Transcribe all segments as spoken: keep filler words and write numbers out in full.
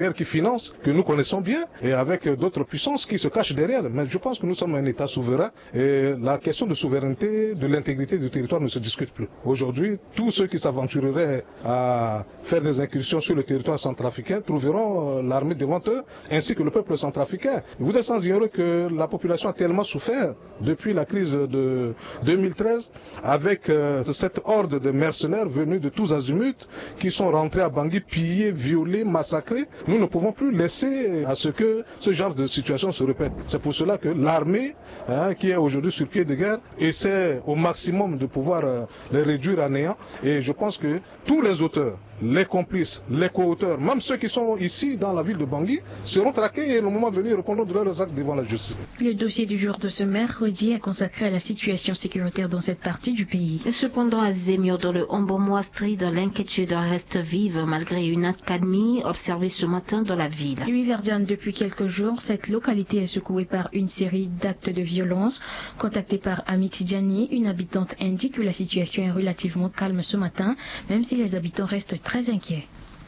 guerre qui finance, que nous connaissons bien, et avec d'autres puissances qui se cachent derrière. Mais je pense que nous sommes un État souverain et la question de souveraineté, de l'intégrité du territoire ne se discute plus. Aujourd'hui, tous ceux qui s'aventureraient à faire des incursions sur le territoire centrafricain trouveront l'armée devant eux, ainsi que le peuple centrafricain. Vous êtes sans ignorer que la population a tellement souffert depuis la crise de deux mille treize, avec cette horde de mercenaires venus de tous azimuts qui sont rentrés à Bangui, pillés, violés, massacrés. Nous ne pouvons plus laisser à ce que ce genre de situation se répète. C'est pour cela que l'armée, qui est aujourd'hui sur pied de guerre, essaie au maximum de pouvoir les réduire à néant. Et je pense que tous les auteurs, les complices, les co-auteurs, même ceux qui sont ici dans la ville de Bangui, seront traqués et le moment venu répondront de leurs actes devant la justice. Le dossier du jour de ce mercredi est consacré à la situation sécuritaire dans cette partie du pays. Cependant, à Zemio, dans le Hombomouastri, l'inquiétude reste vive malgré une accalmie observée ce matin dans la ville. Oui, Verdiane, depuis quelques jours, cette localité est secouée par une série d'actes de violence. Contactée par Amitidiani, une habitante indique que la situation est relativement calme ce matin, même si les habitants restent très inquiets.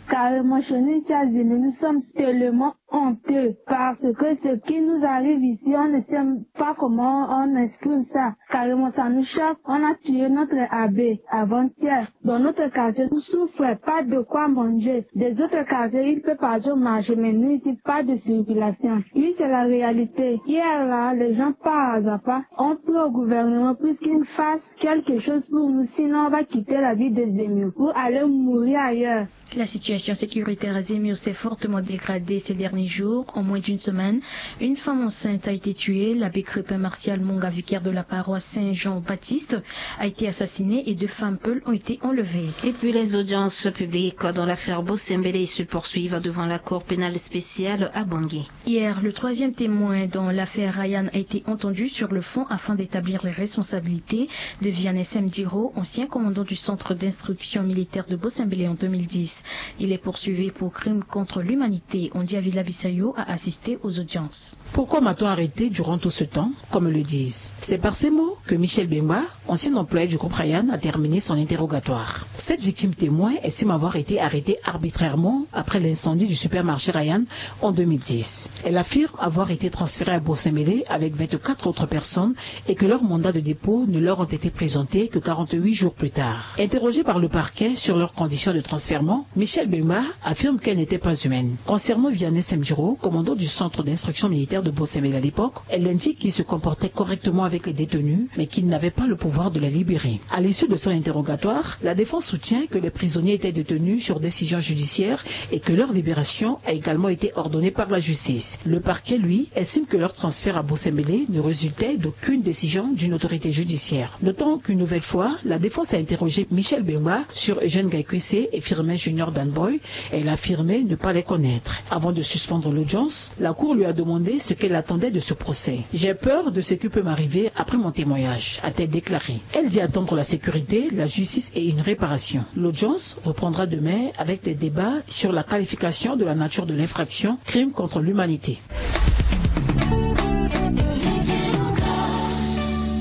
Carrément, chez nous ici à Zemio, nous sommes tellement honteux parce que ce qui nous arrive ici, on ne sait pas comment on exprime ça. Carrément, ça nous choque. On a tué notre abbé avant-hier. Dans notre quartier, nous souffrons pas de quoi manger. Des autres quartiers, il peut partir au marché, mais nous ici, pas de circulation. Oui, c'est la réalité. Hier, là, les gens par hasard ont pris au gouvernement pour qu'il fasse quelque chose pour nous, sinon on va quitter la ville de Zemio pour aller mourir ailleurs. La situation sécuritaire à Zemio s'est fortement dégradée ces derniers jours. En moins d'une semaine, une femme enceinte a été tuée. L'abbé Crépin Martial Monga, vicaire de la paroisse Saint-Jean-Baptiste, a été assassiné et deux femmes peules ont été enlevées. Et puis les audiences publiques dans l'affaire Bossembélé se poursuivent devant la cour pénale spéciale à Bangui. Hier, le troisième témoin dans l'affaire Ryan a été entendu sur le fond afin d'établir les responsabilités de Vianney Semdiro, ancien commandant du centre d'instruction militaire de Bossembélé en deux mille dix. Il est poursuivi pour crime contre l'humanité. Ondi Avila Bisayo a assisté aux audiences. Pourquoi m'a-t-on arrêté durant tout ce temps, comme le disent? C'est par ces mots que Michel Bemba, ancien employé du groupe Ryan, a terminé son interrogatoire. Cette victime témoin estime avoir été arrêtée arbitrairement après l'incendie du supermarché Ryan en deux mille dix. Elle affirme avoir été transférée à Bossembélé avec vingt-quatre autres personnes et que leurs mandats de dépôt ne leur ont été présentés que quarante-huit jours plus tard. Interrogée par le parquet sur leurs conditions de transfèrement, Michel Bemba affirme qu'elle n'était pas humaine. Concernant Vianney Semdiro, commandant du centre d'instruction militaire de Bossembélé à l'époque, elle indique qu'il se comportait correctement avec les détenus, mais qu'il n'avait pas le pouvoir de les libérer. À l'issue de son interrogatoire, la défense soutient que les prisonniers étaient détenus sur décision judiciaire et que leur libération a également été ordonnée par la justice. Le parquet, lui, estime que leur transfert à Bossembélé ne résultait d'aucune décision d'une autorité judiciaire. Notons qu'une nouvelle fois, la défense a interrogé Michel Bemba sur Eugène Gaikwese et Firmin Junior Danboy. Elle a affirmé ne pas les connaître. Avant de suspendre l'audience, la cour lui a demandé ce qu'elle attendait de ce procès. J'ai peur de ce qui peut m'arriver après mon témoignage, a-t-elle déclaré. Elle dit attendre la sécurité, la justice et une réparation. L'audience reprendra demain avec des débats sur la qualification de la nature de l'infraction, crime contre l'humanité.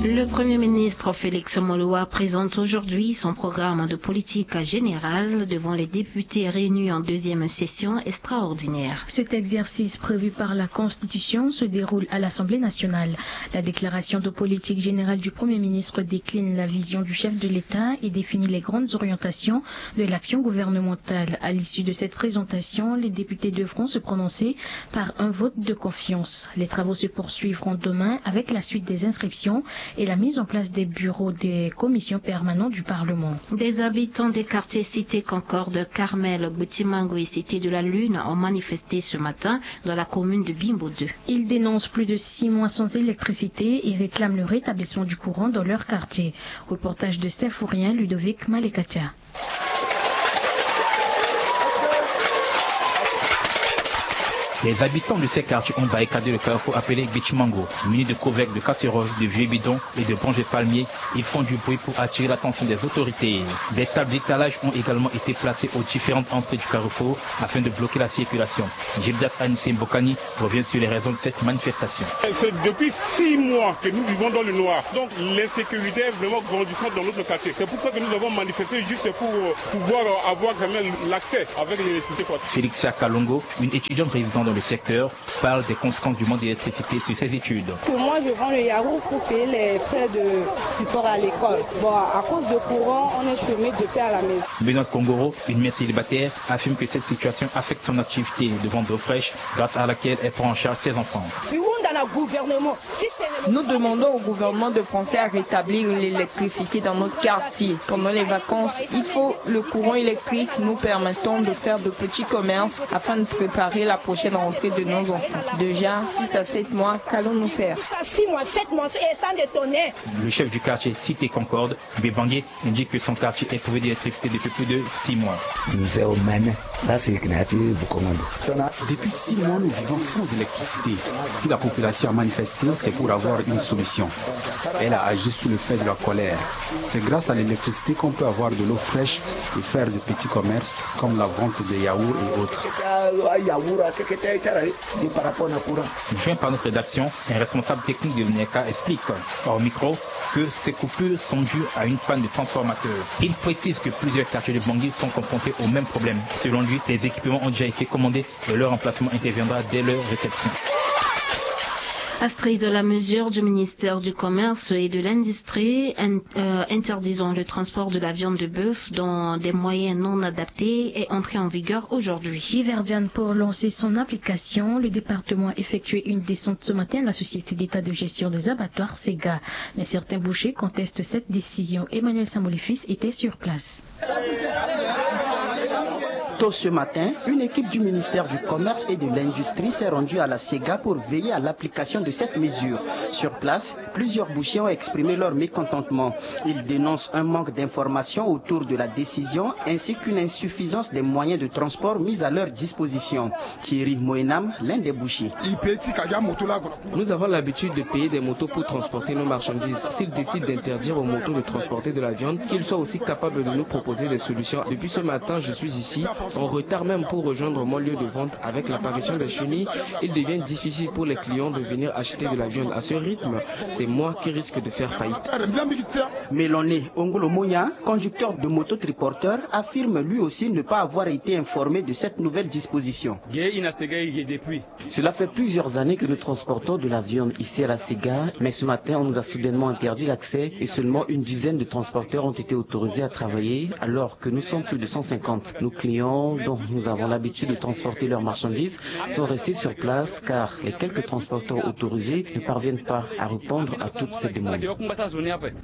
Le Premier ministre Félix Moloua présente aujourd'hui son programme de politique générale devant les députés réunis en deuxième session extraordinaire. Cet exercice prévu par la Constitution se déroule à l'Assemblée nationale. La déclaration de politique générale du Premier ministre décline la vision du chef de l'État et définit les grandes orientations de l'action gouvernementale. À l'issue de cette présentation, les députés devront se prononcer par un vote de confiance. Les travaux se poursuivront demain avec la suite des inscriptions et la mise en place des bureaux des commissions permanentes du Parlement. Des habitants des quartiers Cité Concorde, Carmel, Boutimango et Cité de la Lune ont manifesté ce matin dans la commune de Bimbo deux. Ils dénoncent plus de six mois sans électricité et réclament le rétablissement du courant dans leur quartier. Reportage de Symphorien Ludovic Malekatia. Les habitants de ces quartiers ont barricadé le carrefour appelé Bichimango, muni de couvercles, de casseroles, de vieux bidons et de branches de palmier. Ils font du bruit pour attirer l'attention des autorités. Des tables d'étalage ont également été placées aux différentes entrées du carrefour afin de bloquer la circulation. Gildas Anissé Mbokani revient sur les raisons de cette manifestation. C'est depuis six mois que nous vivons dans le noir. Donc l'insécurité est vraiment grandissante dans notre quartier. C'est pour ça que nous avons manifesté, juste pour pouvoir avoir quand même l'accès avec l'électricité, quoi. Félixia Kalongo, une étudiante résidant dans le secteur, parle des conséquences du manque d'électricité sur ses études. Que moi, je vends le yaourt pour payer les frais de support à l'école. Bon, à cause de courant, on est chômé de paix à la maison. Benoît Kongoro, une mère célibataire, affirme que cette situation affecte son activité de vente d'eau fraîche, grâce à laquelle elle prend en charge ses enfants. Nous demandons au gouvernement de penser à rétablir l'électricité dans notre quartier. Pendant les vacances, il faut le courant électrique nous permettant de faire de petits commerces afin de préparer la prochaine rentrée de nos enfants. Déjà, six à sept mois, qu'allons-nous faire ? Six mois, sept mois, et sans détonner. Le chef du quartier Cité Concorde, Bebangé, indique que son quartier est privé d'électricité depuis plus de six mois. Depuis six mois, nous vivons sans électricité. Si la population a manifesté, c'est pour avoir une solution. Elle a agi sous le fait de la colère. C'est grâce à l'électricité qu'on peut avoir de l'eau fraîche et faire de petits commerces comme la vente de yaourts et autres. Joint par notre rédaction, un responsable technique de l'ONECA explique hors micro que ces coupures sont dues à une panne de transformateur. Il précise que plusieurs quartiers de Bangui sont confrontés au même problème. Selon lui, les équipements ont déjà été commandés et leur emplacement interviendra dès leur réception. Astrid, la mesure du ministère du Commerce et de l'Industrie in- euh, interdisant le transport de la viande de bœuf dans des moyens non adaptés est entrée en vigueur aujourd'hui. Iverdian pour lancer son application, le département a effectué une descente ce matin à la société d'État de gestion des abattoirs, Sega. Mais certains bouchers contestent cette décision. Emmanuel Samolifis était sur place. Tôt ce matin, une équipe du ministère du Commerce et de l'Industrie s'est rendue à la Sega pour veiller à l'application de cette mesure. Sur place, plusieurs bouchers ont exprimé leur mécontentement. Ils dénoncent un manque d'information autour de la décision ainsi qu'une insuffisance des moyens de transport mis à leur disposition. Thierry Moenam, l'un des bouchers. Nous avons l'habitude de payer des motos pour transporter nos marchandises. S'ils décident d'interdire aux motos de transporter de la viande, qu'ils soient aussi capables de nous proposer des solutions. Depuis ce matin, je suis ici, en retard même pour rejoindre mon lieu de vente. Avec l'apparition des chenilles, il devient difficile pour les clients de venir acheter de la viande. À ce rythme, c'est moi qui risque de faire faillite. Meloné Ongolo Monia, conducteur de moto triporteur, affirme lui aussi ne pas avoir été informé de cette nouvelle disposition. Cela fait plusieurs années que nous transportons de la viande ici à la Sega, mais ce matin, on nous a soudainement interdit l'accès et seulement une dizaine de transporteurs ont été autorisés à travailler, alors que nous sommes plus de cent cinquante. Nos clients, dont nous avons l'habitude de transporter leurs marchandises, sont restés sur place car les quelques transporteurs autorisés ne parviennent pas à répondre à toutes ces demandes.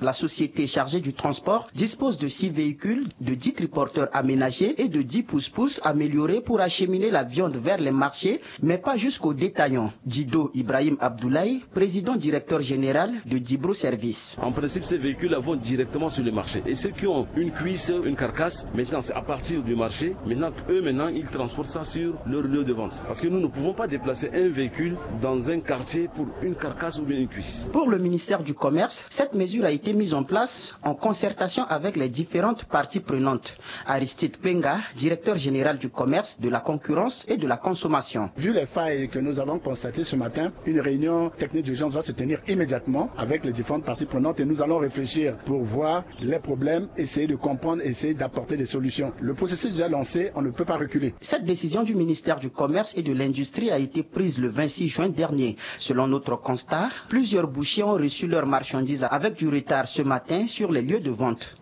La société chargée du transport dispose de six véhicules, de dix triporteurs aménagés et de dix pousse-pousse améliorés pour acheminer la viande vers les marchés, mais pas jusqu'aux détaillants. Dido Ibrahim Abdoulaye, président directeur général de Dibro Service. En principe, ces véhicules vont directement sur le marché. Et ceux qui ont une cuisse, une carcasse, maintenant, c'est à partir du marché. Maintenant, eux, maintenant, ils transportent ça sur leur lieu de vente. Parce que nous ne pouvons pas déplacer un véhicule dans un quartier pour une carcasse ou bien une cuisse. Pour le ministère du Commerce, cette mesure a été mise en place en concertation avec les différentes parties prenantes. Aristide Penga, directeur général du commerce, de la concurrence et de la consommation. Vu les failles que nous avons constatées ce matin, une réunion technique d'urgence va se tenir immédiatement avec les différentes parties prenantes et nous allons réfléchir pour voir les problèmes, essayer de comprendre, essayer d'apporter des solutions. Le processus est déjà lancé, on ne peut pas reculer. Cette décision du ministère du Commerce et de l'Industrie a été prise le vingt-six juin dernier. Selon notre constat, plusieurs bouchers ont reçu leurs marchandises avec du retard ce matin sur les lieux de vente.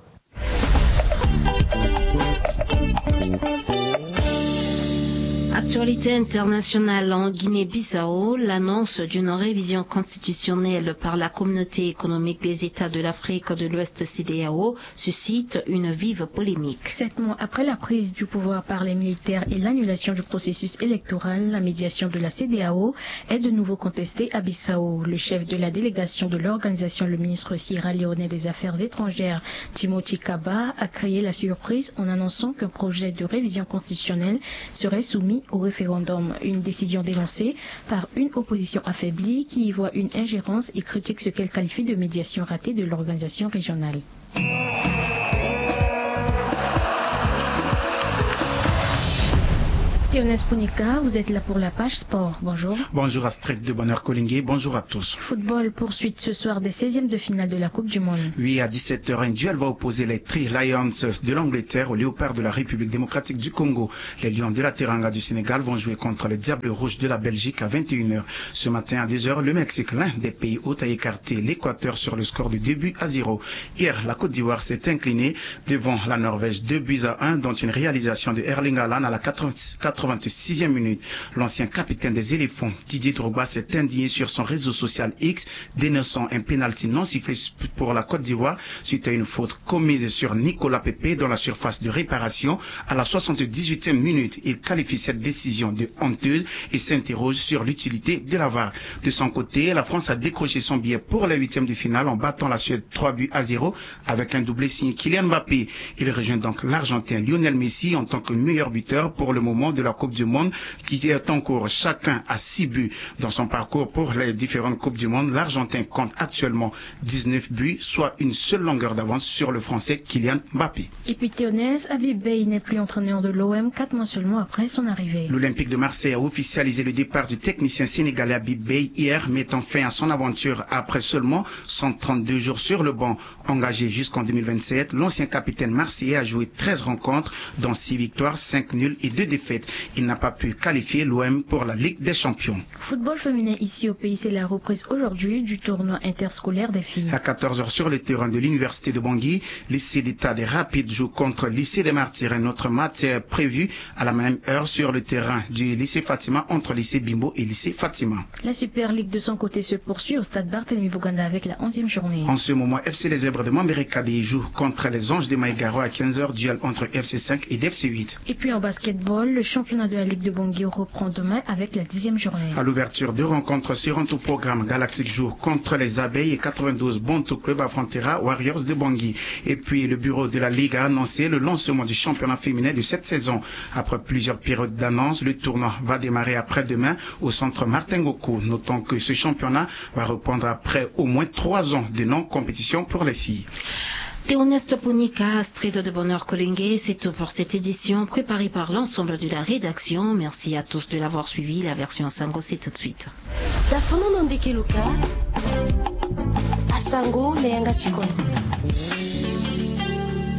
Actualité internationale en Guinée-Bissau, l'annonce d'une révision constitutionnelle par la Communauté économique des États de l'Afrique de l'Ouest, CEDEAO, suscite une vive polémique. Sept mois après la prise du pouvoir par les militaires et l'annulation du processus électoral, la médiation de la CEDEAO est de nouveau contestée à Bissau. Le chef de la délégation de l'organisation, le ministre sierra-léonais des Affaires étrangères, Timothy Kaba, a créé la surprise en annonçant qu'un projet de révision constitutionnelle serait soumis au Référendum, une décision dénoncée par une opposition affaiblie qui y voit une ingérence et critique ce qu'elle qualifie de médiation ratée de l'organisation régionale. Théonès Punika, vous êtes là pour la page sport. Bonjour. Bonjour Astrid de Bonheur Collingué. Bonjour à tous. Football, poursuite ce soir des seizièmes de finale de la Coupe du Monde. Oui, à dix-sept heures, un duel va opposer les Three Lions de l'Angleterre aux Léopards de la République démocratique du Congo. Les Lions de la Teranga du Sénégal vont jouer contre les Diables Rouges de la Belgique à vingt et une heures. Ce matin à deux heures, le Mexique, l'un des pays hôtes, a écarté l'Équateur sur le score de deux buts à zéro. Hier, la Côte d'Ivoire s'est inclinée devant la Norvège, deux buts à un, dont une réalisation de Erling Haaland à la quatre-vingts, quatre-vingt-sixième minute. L'ancien capitaine des Éléphants, Didier Drogba, s'est indigné sur son réseau social X, dénonçant un pénalty non sifflé pour la Côte d'Ivoire suite à une faute commise sur Nicolas Pepe dans la surface de réparation à la soixante-dix-huitième minute. Il qualifie cette décision de honteuse et s'interroge sur l'utilité de la var. De son côté, la France a décroché son billet pour les huitièmes de finale en battant la Suède trois buts à zéro avec un doublé signé Kylian Mbappé. Il rejoint donc l'Argentin Lionel Messi en tant que meilleur buteur pour le moment de la Coupe du Monde qui est en cours. Chacun a six buts dans son parcours pour les différentes Coupes du Monde. L'Argentin compte actuellement dix-neuf buts, soit une seule longueur d'avance sur le Français Kylian Mbappé. Et puis Théonès, Habib Beye n'est plus entraîneur de l'O M quatre mois seulement après son arrivée. L'Olympique de Marseille a officialisé le départ du technicien sénégalais Habib Beye hier, mettant fin à son aventure après seulement cent trente-deux jours sur le banc. Engagé jusqu'en deux mille vingt-sept, l'ancien capitaine marseillais a joué treize rencontres, dont six victoires, cinq nuls et deux défaites. Il n'a pas pu qualifier l'O M pour la Ligue des Champions. Football féminin ici au pays, c'est la reprise aujourd'hui du tournoi interscolaire des filles. À quatorze heures sur le terrain de l'université de Bangui, lycée d'État des Rapides joue contre lycée des Martyrs. Un autre match est prévu à la même heure sur le terrain du lycée Fatima entre lycée Bimbo et lycée Fatima. La Super League de son côté se poursuit au stade Barthélemy Boganda avec la onzième journée. En ce moment, F C Les Zèbres de Mambereka-Bèye joue contre les Anges de Maïgaro à quinze heures, duel entre F C cinq et F C huit. Et puis en basketball, le championnat de la Ligue de Bangui reprend demain avec la dixième journée. À l'ouverture, deux rencontres seront au programme. Galactique joue contre les Abeilles et quatre-vingt-douze Bonto Club affrontera Warriors de Bangui. Et puis, le bureau de la Ligue a annoncé le lancement du championnat féminin de cette saison. Après plusieurs périodes d'annonce, le tournoi va démarrer après-demain au centre Martin Ngoku. Notons que ce championnat va reprendre après au moins trois ans de non-compétition pour les filles. Théoneste Ponika, Astrid de Bonheur Kolenge, c'est tout pour cette édition préparée par l'ensemble de la rédaction. Merci à tous de l'avoir suivi. La version Sango, c'est tout de suite. Tafono na ndeke luka. Asango na yanga ti kodro.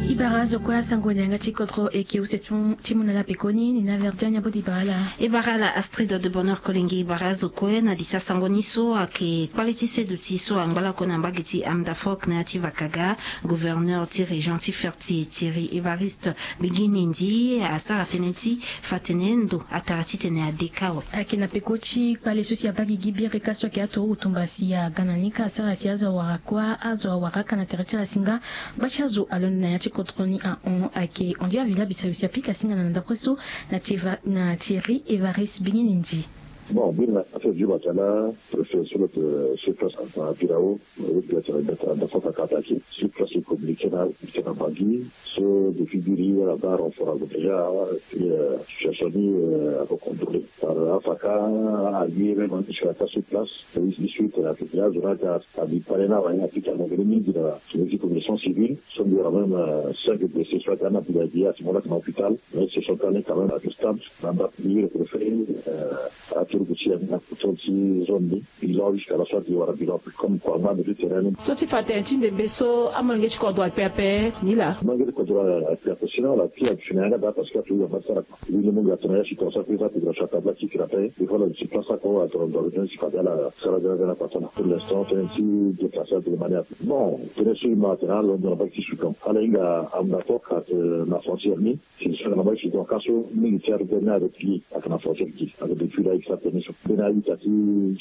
I bara zo kue asango na yanga ti kodro eke use ti mu na ala pekoni ni na Verdian ya bodi bara ala. E bara ala Astrid de Bonheur Kolenge, e bara zo kue na di ti asango ni so ayeke kpale ti seduti so angba lakue na mbage ti Amdafok na ya ti Vakaga. Gouverneur ti région ti Ferti, Thierry Évariste Bigui Nindi, asara tënë ti fa tene ndo atara titene adeka awe. Ayeke na peko ti kpale so si abaa gigi birika so ayeke aturugu tumba si aga na ni ka asara si azo awara kuâ, azo awara aka na tere ti ala singa. Gba ti azo alondo na ya ti kodro ni ahon ayeke Andy Avila Bisayo si apika singa na ndapre so na Thierry, na Thierry Évariste Bigui Nindi. Bon, biri na affaire Djiba Talla, préfet sur le, sur place, à Birao, oui, bien sûr, bien sûr, d'accord, attaqué. Sur place, il communiquait là, il était dans Bangui. So, depuis biri, la barre, on fera déjà, et puis, euh, situation ni, euh, à contrôler. Par Afaka, à lui, même, on est sur la place, sur place. Et suite, la filière, je vais à, à Bipalena, ouais, à Pita, on avait mis de la, sur les commissions civiles, sont quand même, euh, cinq blessés, soit dans la Biladia, à ce moment-là, dans l'hôpital, mais ils se sont allés quand même à ce stade, là-bas, le préfet, euh, aturugu ti ya ni na koto ti zone ni. Bilan jusqu'à la sortie wala bilan comme quoi, ma de terrain. So ti fa tene ti ndembe so amolenge ti kodro ape ape ni laa. Molenge ti kodro ape ape, sinon la pire ape fini yanga daa parce que aturugu yamba ti sara kua. Wi ni mungo atene ya si ton sa kuiza ti gra sata bla ti kira ape. Il faut la ti place ako atene ndo ape ti fa de ala sara de ala patana. Pour l'instant tene ti déplacer de manière. Bon, tene so ima atene ala ndo na bak ti sudan ala hinga amna fok ate na frontière ni. Si so na bak ti sudan ka so militaire de na avec lui ate na frontière ti ate depuis la extra tene so. Bena ita ti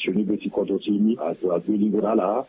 soni be ti kodro ti ni ate ague lingo na ala.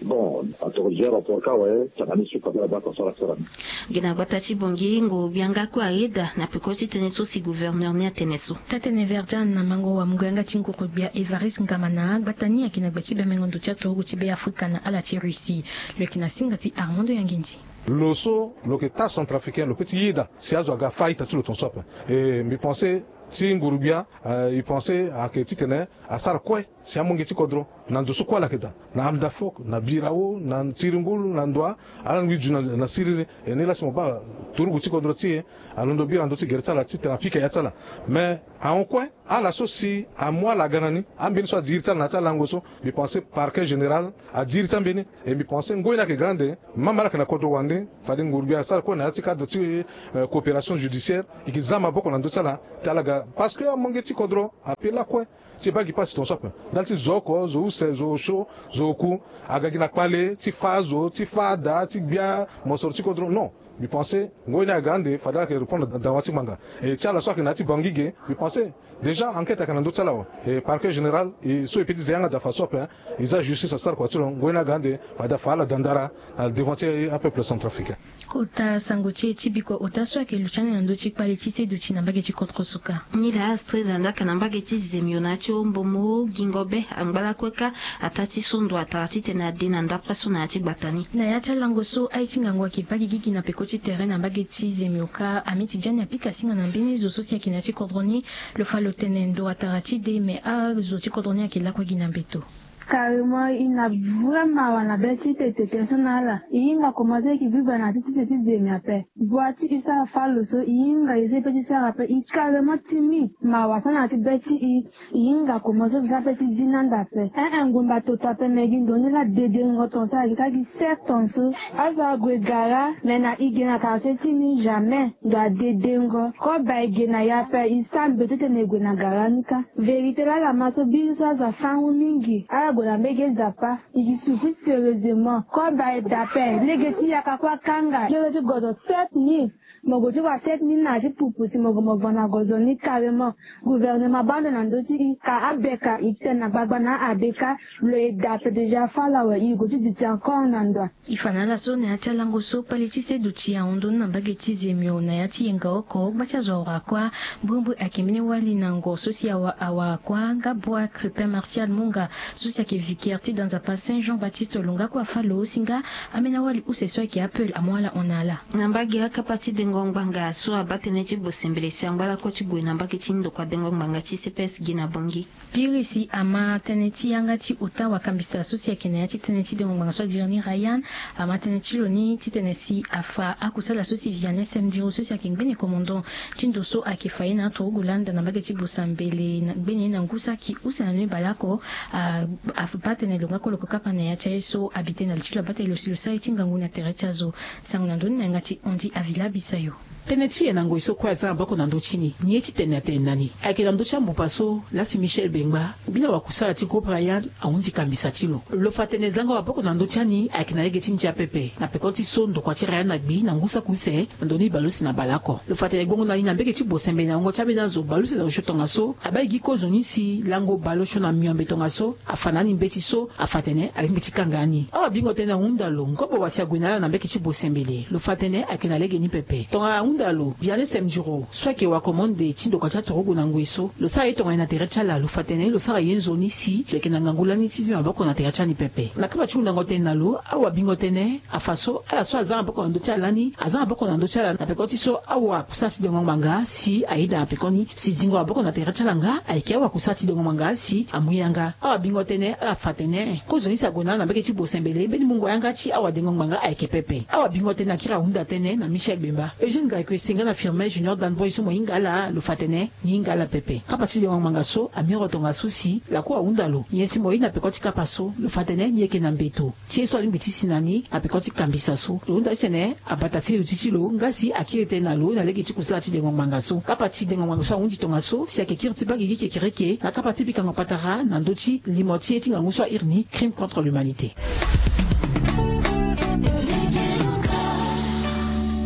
Bon, atorodia rapport ka awe tanga ni so kabela bata sara sara ni. Gi na gbata ti Bangui ngu bianga kue ayeda na peko ti tënë so si gouverneur ni atene so. Tatene Verdian na mango wamungo yanga ti nguru gbia Évariste Ngamana, gbata ni ayeke na gbe ti bemengo ndo ti aturugu ti Beafrika na ala ti Russie. Lo yeke na singa ti Armando Yangindi. Lo so lo yeke taa centrafricain lo peut ti yeda si azo aga fâ a-ita ti lo tongaso ape. E mbi pense ti nguru-gbia. E pense ayeke titene asara kue si amonge ti kodro na ndo so kue ala yeke daa, na Amdafok, na Birao, na Tiringulu, na Ndoa, ala lingbi zu na siriri. E ni laa si mo baa turugu ti kodro ti e alondo bira na ndö ti gere ti ala titene apika ya ti ala. Mais ahon kue, ala so si amu ala aga na ni, ambeni so adi iri ti ala na ya ti alango so, mbi pense parquet général adi iri ti ambeni. E mbi pense ngoi ni ayeke ga ande, même ala yeke na kodro wande, fade nguru-gbia asara kue na ya ti cadre ti coopération judiciaire, e ke za maboko na ndö ti ala ti ala ga, parce que amonge ti kodro ape lakue ti baa gi pasi tongaso ape. Ndali ti zo oko, zo use, zo osio, zo oku, aga gi na kpale ti fâ azo, ti fâ ada, ti gbia mosoro ti kodro, non. Mbi pense ngoi ni aga ande fade ala yeke répondre dawa ti ngbanga. E ti ala so ayeke na ya ti Bangui ge, mbi pense déjà enquête ayeke na ndö ti ala awe. E parquet général e so e pe ti ze yanga daa fadeso ape, hein. E za justice asara kua ti lo ngoi ni aga ande fade afa ala daa ndara na devant ti apeuple centrafricain. Kota sango ti e ti bikua ota so ayeke lu ti ani na ndö ti kpale ti seduti na mbage ti kodro so ka. Nilaa Astrid Andaka na mbage ti Zemio na ya ti Ombomo, gingo be angba lakue kâ. Ataa ti so ndo atara titene ade na ndapre so na ya ti gbata ni. Na ya ti alango so aye ti ngangu ayeke baa gigi na peko ti tere na mbage ti Zemio kâ, Amiti Jani apika singa na mbeni zo so si ayeke na ya ti kodro ni. Lo fa lo tene ndo atara ti de, me azo ti kodro ni ayeke lakue gi na mbeto. Carrément, e na vrai mawa na be ti tete tene so na ala. E hinga komanse e yeke biba na ya ti tete ti Zemio ape. Bua ti e sara fâ lo so, e hinga e so e pe ti sara ape. E carrément timide. Mawa so na ya ti be ti e. E hinga komanse so e sara ape ti zi na anda ape. Ee, ngbonda toto ape, me gi ndo ni laa dedengo tongaso ayeke kâ gi sept tongaso. Azo ague gara, me na e ge na quartier ti ni jamais. Ndo adedengo. Koba e ge na ya ape, e sara mbeto titene e gue na gara ni kâ. Vérité laa ala ma so biri so azo afâ ngu mingi. Ala gue na mbage Zappa. E ke souffrir sérieusement. Koba e daa ape, lege ti yaka kue akanga. Lege ti gozo sept mille. Mo gue ti wa sept mille na ya ti pupu si mo gue mo va na gozo ni carrément. Gouvernement abâ ndo na ndö ti e, ka abeka e tene na gbagba na abe kâ. Lo e daa ape déjà fâ lo awe, e gue ti duti encore na ndo. E fa na ala so na ya ti alango so kpale ti seduti ahon ndo ni na mbage ti Zemio na ya ti yenga oko, gba ti azo awara kua. Mbrimbri ayeke mbeni wali na ngo so si awara kua nga Boa Crétin Martial Munga so si ayeke vicaire ti da Nzapa Saint Jean Baptiste lo nga kue afâ lo si nga ambeni awali use so ayeke apeul amu ala hon na ala. Na mbage akapa ti dengo ngbanga so abaa tënë ti bosembele si angba lakue ti gue na mbage ti ndokua dengo ngbanga ti C P S gi na Bangui. Piri si ama tënë ti yanga ti ota wakambisa so si ayeke na ya ti tënë ti dengo ngbanga so adiri ni Ryan, ama tënë ti lo ni titene si afa akusala so si Vianney Semdiro so si ayeke ngbene commandant ti ndo so ayeke fa ye na aturugu landa na mbage ti Bosambele, ngbene ye na ngu saki use na ndö ni baleoko. Abaa tene lo nga kue lo yeke kapa na ya ti aye so abi tënë na li ti lo, abaa tene lo si lo sara ye ti ngangu na tere ti azo. Sango na ndö ni na yanga ti Andy Avila Bisayo. Tënë ti e na ngoi so kue aza maboko na ndö ti ni. Ni ye ti tene atene na ni ayeke na ndö ti ambupa so laa si Michel Bengba, mbeni wakusala ti groupe Ryan, ahunzi kambisa ti lo. Lo fa tene zango maboko na ndö ti ani ayeke na lege ti ndia pepe. Na peko ti so ndokua ti Ryan agbi na ngu saki use na ndo ni baleuse na baleoko. Lo fa tene gbongo na ni na mbage ti Bosembele na wungo ti ambeni azo baleuse na osio tongaso, abaa e gi kozoni si lango baleosio na miombe tongaso afa na ni mbeti so afa tene alingbi ti kanga ni. Awabingo tënë ahunda lo, ngobo wa si ague na ala na mbage ti Bosembele, lo fa tënë ayeke na legeni pepe. Tongana ahunda lo, Vianney Semdiro so ayeke wakomande ti ndokua ti aturugu na ngoi so, lo sara ye tongana na tere ti ala, lo fa tene lo sara ye nzoni si lo yeke na ngangu lani ti zi maboko na tere ti ani pepe. Na kapa ti hundango tënë na lo, awabingo tënë afa so ala so aza maboko na ndö ti ala lani aza maboko na ndö ti ala na peko ti so awakusala ti dengo ngbanga si ayeda na peko ni, si zingo maboko na tere ti ala nga ayeke awakusala ti dengo ngbanga si amu yanga. Awabingo tënë ala fa tene kozoni si ague na ala na mbage ti Bosembele, mbeni mungo yanga ti awadengo ngbanga ayeke pepe. Awabingo tënë akiri ahunda tënë na Michel Bemba, Eugène Gaïko Esenga na Firmin Junior Danboy so mo hinga ala, lo fa tene ni hinga ala pepe. Kapa ti dengo ngbanga so amioro tongaso si lakue ahunda lo, nyen si mo ye na peko ti kapa so, lo fa tene ni yeke na mbeto. Ti ye so alingbi ti si na ni na peko ti kambisa so, lo hunda ti tene abata seduti ti lo nga si akiri tënë na lo na lege ti kusala ti dengo ngbanga so. Kapa ti dengo ngbanga so ahunzi tongaso si ayeke kiri ti baa gigi kekereke na kapa ti bikango patara na ndö ti limo ti ye ti ngangu so airi ni crime contre l'humanité.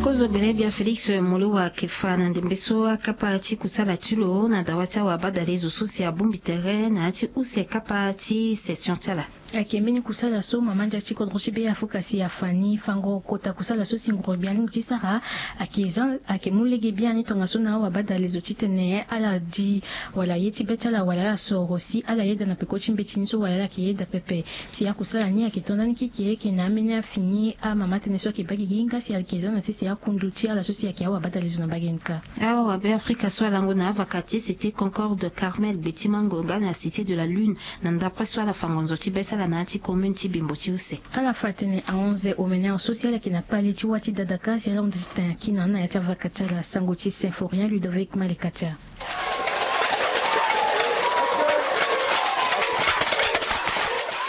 Kozo gbene gbia Félix Moloua ayeke fa na ndembe so akapa ti kusala ti lo na dawa ti awabadale zo so si abongbi tere na ya ti use kapa ti session ti ala. Ayeke mbeni kusala so mama ndia ti kodro ti Beafrika si afa ni fango kota kusala so si nguru-gbia alingbi ti sara. Ayeke za, ayeke mu lege biani tongaso na awabadale zo titene ala di wala ye ti be ti ala wala ala soro si ala yeda na peko ti mbeti ni so wala ala yeke yeda pepe. Si akusala ni ayeke to ndani keke, ayeke na ambeni afini amama tënë so ayeke baa gigi nga si ayeke za na sese aku Ndu ti ala so si ayeke awa abata lezo na mbage ni kâ. Awa Beafrika so alango na avaka ti cité Concorde, Carmel, Beti Mango nga na cité de la Lune, na ndapre so ala fa ngonzo ti be ti ala na ya ti commune ti Bimbo ti use. Ala fa atene ahon ze omene ahon so si ala yeke na kpali ti wâ ti dada kâ si ala hunda ti tene akina na ya ti avaka ti ala. Sango ti Symphorien Ludovic Malikatia.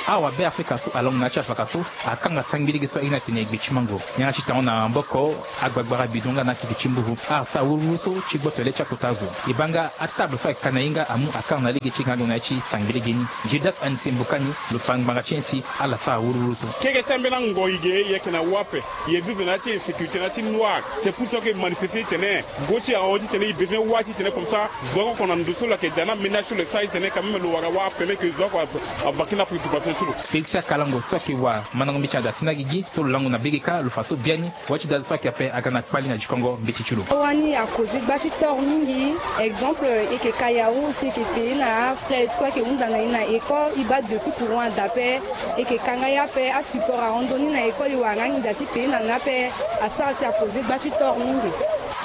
Awa Beafrika so alongo na ya ti avaka so akanga sangbi lege so aye ni atene Gbe ti Mango. Yanga ti tango na maboko agbagbara bidon nga na akeke ti mburu, asara wuruwuru so ti gboto le ti akota azo. E baa nga atable so ayeke ka na ye nga amu akanga na lege ti e nga alo na ya ti sangbi lege ni. Gildas Anise Mbokani lo fa ngbanga ti e si ala sara wuruwuru so. Keke ti ambeni angoi ge e yeke na wâ ape. E zizi na ya ti insécurité na ya ti noir. C'est pour ça que e manifester titene go ti e ahon titene e besoin wâ titene comme ça zo oko na ndo so lo yeke daa na ménage so lo yeke sara titene quand même lo wara wâ ape, me ke zo oko ava kiri na préoccupation ti lo. Félix Akalango so ayeke wa mandango mbeti na da ti na gigi so lo lango na bege kâ lo fa so biani. Wâ ti dada so ayeke ape aga na kpali na dikongo mbeti ti lo. Wani a causer gba ti tort mingi. Exemple, e yeke ka yaourt, e yeke payer na frais so ayeke hunda na e na école, e baa depuis courant ada ape. E yeke ka nga ye ape, asupport ahon ndoni na école, e wara nga nginza ti payer na ni ape. Asara si a causer gba ti tort mingi.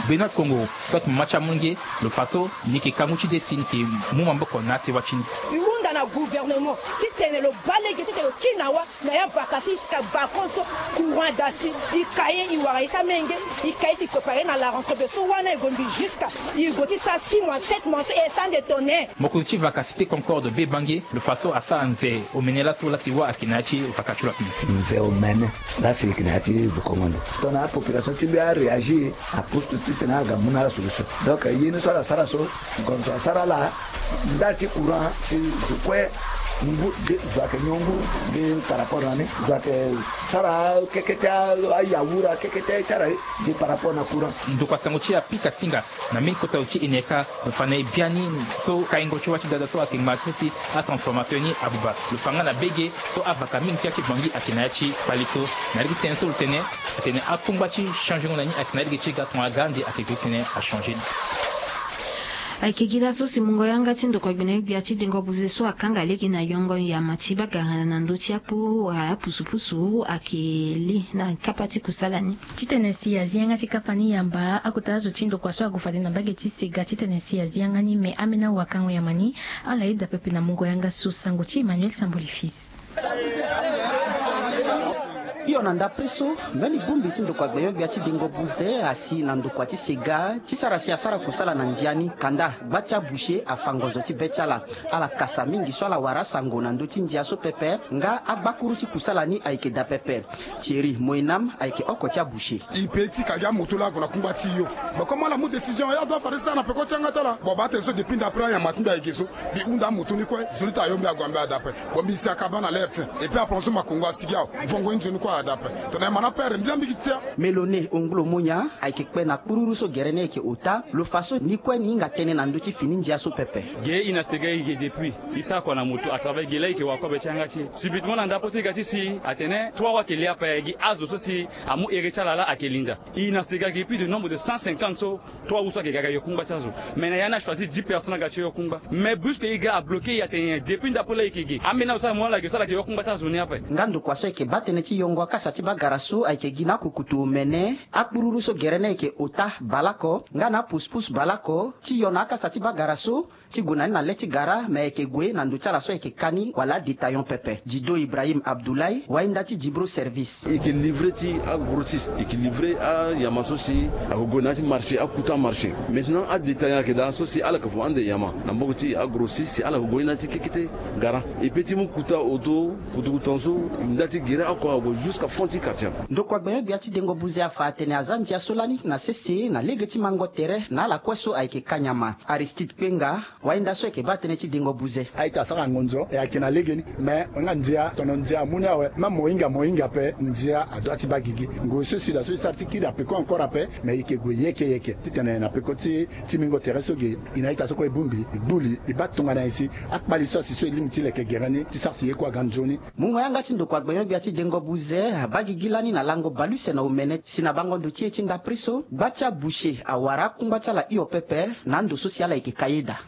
Benoîte Kongo so ayeke mama ti amolenge lo fa so ni yeke ka ngu ti de si ni yeke mu maboko na asewa ti ni. E hunda na gouvernement titene lo baa lege titene lo kiri na wâ na ya vaka si ka vacance so courant ada si, e ka ye, e wara ye ti amenge, e ka ye si e préparer na la rentrée. Be so wâ na e gue mbi jusqu'à e gue ti sara six mois, sept mois so e sara nde tone. Mokonzi ti vaka cité Concorde Be Bange lo fa so asara nze omene laso la si wâ ayeke na ya ti vaka ti lo ape. Nze omene la si e yeke na ya ti vukongo ndo. Tongana apopulation ti mbi aréagir, apusu titene aga mu na ala solution. Donc ye ni so ala sara so, ngonzo asara ala nda ti courant si zo kue ngu de, zo ayeke nyon ngu de par rapport na ni, zo ayeke sara keke ti a- ayaourt, keke ti ti ala de par rapport na courant. Ndokua sango ti apika singa na mbeni kota zo ti e na e kâ, lo fa na e biani so kaingo ti wâ ti dada so ayeke ngba ti so si atransformateur ni abuba. Lo fa nga na bege so avaka mingi ti ya ti Bangui ayeke na ya ti kpali so. Na lege ti tënë so lo tene, atene akungba ti changer ngo na ni ayeke na lege ti e ga tongana aga ande ayeke gue titene achanger ni. Ayeke gi laso si mungo yanga ti ndokua gbene gbia ti dengo buze so akanga lege na yongo nyama ti bagara na ndö ti akpo wala apusupusu ayeke li na kapa ti kusala ni. Titene si azi yanga ti kapa ni yamba, akota azo ti ndokua so ague fade na mbage ti sega titene si azi yanga ni me ambeni awakango nyama ni, ala yeda pepe na mungo yanga so. Sango ti Emmanuel Samboli Fils. Hio na ndapre so, mbeni bongbi ti ndokua gbenyo-gbia ti dengo buze asi na ndokua ti sega ti sara si asara kusala na ndia ni. Kanda gba ti aboucher afa ngonzo ti be ti ala. Ala kasa mingi so ala wara asango na ndö ti ndia so pepe, nga agbakuru ti kusala ni ayeke daa pepe. Thierry Moenam ayeke oko ti aboucher. E pe ti ka gi amoto laa ague na kungba ti yo. Bon, comme ala mu décision, ya doit fade sara na peko ti yanga ti ala. Bon, baa tene so depuis ndapre anyama ti mbi ayeke so, mbi hunda amoto ni kue, zo ni ta yo mbi ague mbi ada ape. Bon, mbi si akaba na l'heure ti. Et puis apranso makongo asigi awe, vongo ni zo ni kue ada ape. Tongana e ma na pere mbi laa mbi gi tia. Melone Ongolo Monya ayeke kpe na kpururu so gere ni ayeke ota, lo fa so ni kue ni hinga tënë na ndö ti fini ndia so pepe. Ge e na sega e ge depuis. E sara kua na moto à travers ge laa e yeke wa kobe ti yanga ti e. Subitement na ndapre so e ga ti si atene trois wâ ayeke li ape, gi azo so si amu here ti ala laa ayeke linda. E na sega ge plus de nombre de cent cinquante so trois wâ so ayeke ga ga yo kungba ti azo. Mais na ya ni achoisir dix personnes aga ti yo kungba. Mais brusque e ga abloquer e atene depuis ndapre laa e yeke ge. Ambeni azo so amu ala ge so ala yeke yo kungba ti azo ni ape. Nga ndokua so ayeke baa tënë ti yongo akasa ti bagara so ayeke gi na akukutu omene, akpururu so gere ni ayeke ota baleoko nga na apusupusu baleoko ti yo na akasa ti bagara so ti gue na ni na le ti gara, me ayeke gue na ndo ti ala so ayeke ka ni wala adétaillant pepe. Dido Ibrahim Abdoulaye, wahinda ti Djibro Service. E yeke livrer ti agrossiste, e yeke livrer anyama so si ayeke gue na ya ti marché, akuta marché. Maintenant adétaillant ayeke daa so si ala yeke fu ande nyama na maboko ti agrossiste si ala yeke gue ni na ya ti kekete gara. E pe ti mu kuta oto, kutuku tongaso, nda ti gere oko ague jusqu'à fond ti quartier. Ndokua gbenyo-gbia ti dengo buze afa atene aza ndia so lani na sese na lege ti mango tere na ala kue so ayeke ka nyama. Aristide Kpenga, wahinda so ayeke baa tënë ti dengo buze. A-ita asara ngonzo e ayeke na legeni. Mais nga ndia, tono ndia amu ni awe. Même mo hinga mo hinga ape, ndia adoit ti baa gigi. Ngoi so si da so e sara ti kiri na peko encore ape. Mais e yeke gue yeke yeke titene na peko ti, ti mingo tere so ge, e na a-ita so kue e bongbi, e gbu li, e baa tongana nyen si akpali so asi so e lingbi ti leke gere ni ti sara si ye kue aga nzoni. Mungo yanga ti ndokua gbenyo-gbia ti dengo buze abaa gigi lani na lango baleuse na omene. Si na bango ndo ti e ti ndapre so, gba ti aboucher awara akungba ti ala hio pepe na ando so si ala yeke ka ye daa.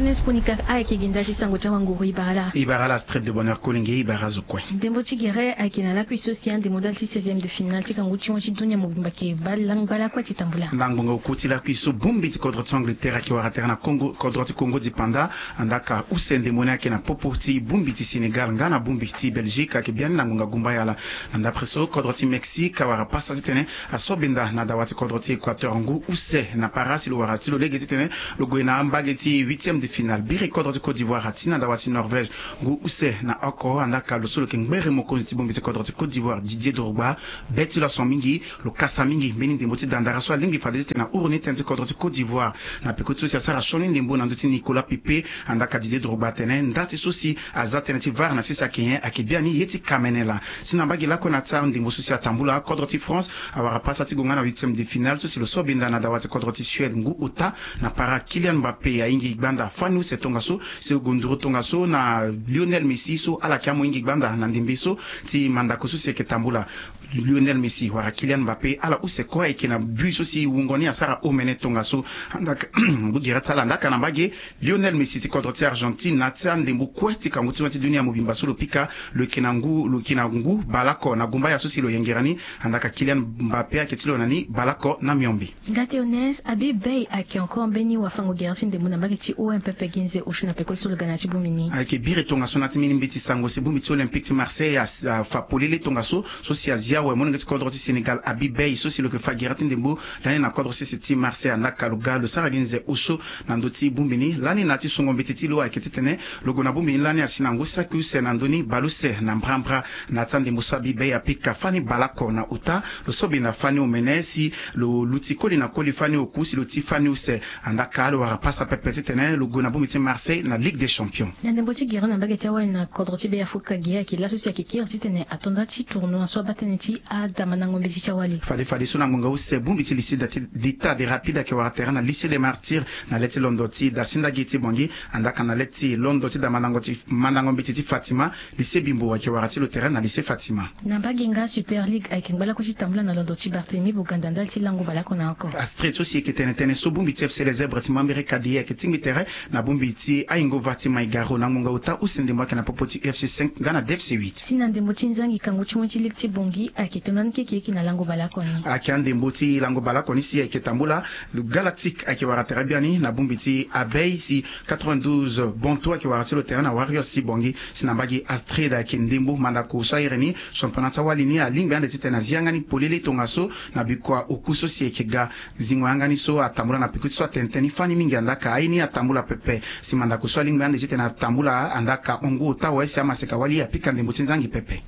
Nesponika ayeke gi ndali ti sango ti awanguru. Ibara la. Ibara la Street de Bonheur Kolenge, ibara zo kue. Ndembo ti gere ayeke na lakui so si andembo ndali ti seizième de finale ti kangu ti mo ti dunia mobimba ayeke baa langba lakue ti tambula. Na ngbonga oku ti lakui so bongbi ti kodro ti Angleterre ayeke wara tere na Congo, kodro ti Congo dipanda. Andaka use ndembo ni ayeke na popo ti bongbi ti Sénégal nga na bongbi ti Belgique ayeke biani na ngbonga gumbaya laa. Na ndapre so kodro ti Mexique awara pasa titene asobenda na dawa ti kodro ti Équateur ngu use na para si lo wara ti lo lege titene lo gue na ambage ti huitième de finale. Biri kodro ti Côte d'Ivoire ati na dawa ti Norvège ngu use na oko. Andaka lo so lo yeke ngbere mokonzi ti bongbi ti kodro ti Côte d'Ivoire, Didier Drogba, be ti lo ason mingi. Lo kasa mingi mbeni ndembo ti dandara so alingbi fade titene ahuru ni tënë ti kodro ti Côte d'Ivoire. Na peko ti so si asara sioni ndembo na ndö ti Nicolas Pepe. Andaka Didier Drogba atene nda ti so si aza tënë ti VAR na sese ayeke nyen? Ayeke biani ye ti kamene laa. Si na mbage lakue na ya ti andembo so si atambula, kodro ti France awara pasa ti gue nga na huitième de finale so si lo so benda na dawa ti kodro ti Suède ngu ota. Na para Kylian Mbappé ahingi gbanda fani use tongaso si lo gue nduru tongaso na Lionel Messi so ala yeke amu hingi gbanda na ndembe so ti mandako so si ayeke tambula. Lionel Messi wala Kylian Mbappé, ala use kue ayeke na but so si wungo ni asara omene tongaso. Andaka ngu gere ti ala andaka na mbage Lionel Messi ti kodro ti Argentine na ya ti andembo kue ti kangu ti mo ti dunia mobimba so lo pika, lo yeke na ngu, lo yeke na ngu baleoko na gumbaya so si lo yengere ni. Andaka Kylian Mbappé ayeke ti lo na ni baleoko na miombe. Ngate Ones, Habib Beye ayeke encore mbeni wafango gere ti ndembo na mbage ti O M pepe gi nze osio na peko ti so lo ga na ya ti bongbi ni. Ayeke biri tongaso na ya ti mbeni mbeti sango si bongbi ti Olympique ti Marseille a, afa polele tongaso so si azi awe molenge ti kodro ti Sénégal Habib Beye so si lo yeke fa gere ti ndembo lani na kodro sese ti Marseille. Andaka lo ga lo sara gi nze osio na ndö ti bongbi ni lani na ya ti songo mbeti ti lo ayeke titene lo gue na bongbi ni lani asi na ngu saki use na ndö ni baleuse na mbrambra. Na ya ti andembo so Habib Beye apika fani baleoko na ota, lo so benda fani omene si lo luti koli na koli fani oku si lo ti fani use. Andaka lo wara pasa pepe titene lo gue na bongbi ti Marseille na Ligue des Champions. Na ndembo ti gere na mbage ti awali na kodro ti Beafrika gi ayeke laso si ayeke kiri titene ato nda ti tournoi so abaa tënë ti adamandango mbeti ti awali. Fade fadeso na ngbonga use bongbi ti lycée d'État des Rapides ayeke wara tere na Lycée des Martyrs na le ti londo ti Dasinda gi ti Bangui. Andaka na le ti londo ti damandango ti mandango mbeti ti Fatima, Lycée Bimbo ayeke wara ti lo tere na Lycée Fatima. Na mbage nga Super League ayeke ngba lakue ti tambula na londo ti Barthélemy Boganda ndali ti lango baleoko na oko. Astrid so si eke tene tënë so bongbi ti F C Les Zèbres ti Mambéré Kadi ayeke tingbi tere na bongbi ti Ayingova ti Maigaro na ngbonga ota use ndembo ayeke na popo ti U F C cinq nga na D F C huit. Si na ndembo ti nzangi kangu ti mo ti ligue ti Bangui ayeke to ndani keke eke na lango baleoko ni. Ayeke andembo ti lango baleoko ni si ayeke tambula. Galactique ayeke wara tere biani na bongbi ti Abeille si quatre-vingt-douze Bonto ayeke wara ti lo tere na Warriors ti Bangui. Si na mbage Astrid ayeke ndembo mandako so ayere ni championnat ti awali ni alingbi ande titene azi yanga ni polele tongaso na bikua oku so si ayeke ga. Zingo yanga ni so atambula na peko ti so atene tënë ni fani mingi andaka aye ni atambula pepe. Si mandako so alingbi ande titene atambula andaka hongo ota awe si amaseka wali apika ndembo ti nzangi pepe.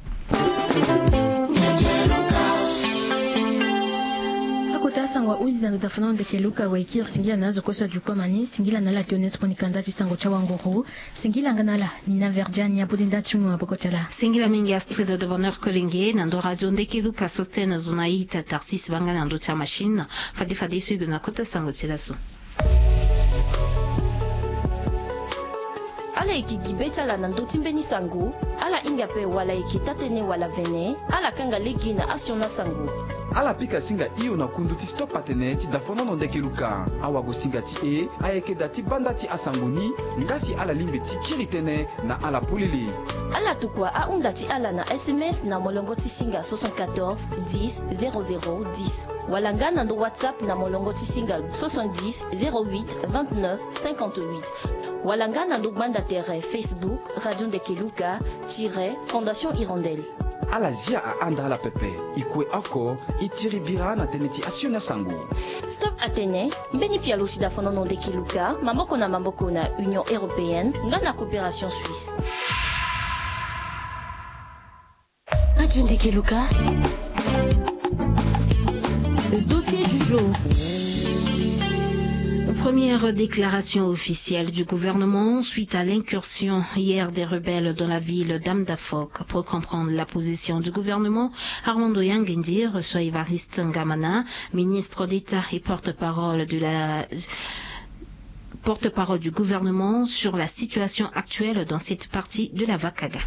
Akota sango ahuzi na ndo dafa na ndeke Luka wekiri singila na azo kue so ajuku amani singila na ala ti onespo ni kanda ti sango ti awanguru. Singila nga na ala ni na verdiani abodi nda ti mu maboko ti ala. Singila mingi Astrid de Bonheur Kolenge na ndo radio ndeke Luka so tene zo na ita Tarsis banga na ndo ti amachine. Fade fade so ido na kota sango ti laso. Ala yeke gi be ti ala na ndö ti mbeni sango. Ala hinga ape wala yeke taa-tënë wala vene. Ala kanga lege na asioni asango. Ala pika singa hio na kundu ti stop atene ti dafonono ndeke Luka. Awagosinga ti e ayeke da ti banda ti asango ni. Nga si ala lingbi ti kiri tënë na ala polele. Ala tokua ahunda ti ala na S M S na molongo ti singa soixante-quatorze dix zéro zéro dix. Wala nga na ndo WhatsApp na molongo ti singa soixante-dix zéro huit vingt-neuf cinquante-huit. Wala nga na ndo gbanda tere Facebook Radio Ndeke Luka tiret Fondation Hirondelle. Ala zia ahanda ala pepe. E kue oko e tiri bira na tënë ti asioni asango. Stop atene mbeni pialo ti dafonono ndeke Luka maboko na maboko na Union Européenne nga na Coopération Suisse. Radio Ndeke Luka. Le dossier du jour. Première déclaration officielle du gouvernement suite à l'incursion hier des rebelles dans la ville d'Amdafok. Pour comprendre la position du gouvernement, Armando Yangendi reçoit Évariste Ngamana, ministre d'État et porte-parole de la porte-parole du gouvernement sur la situation actuelle dans cette partie de la Vakaga.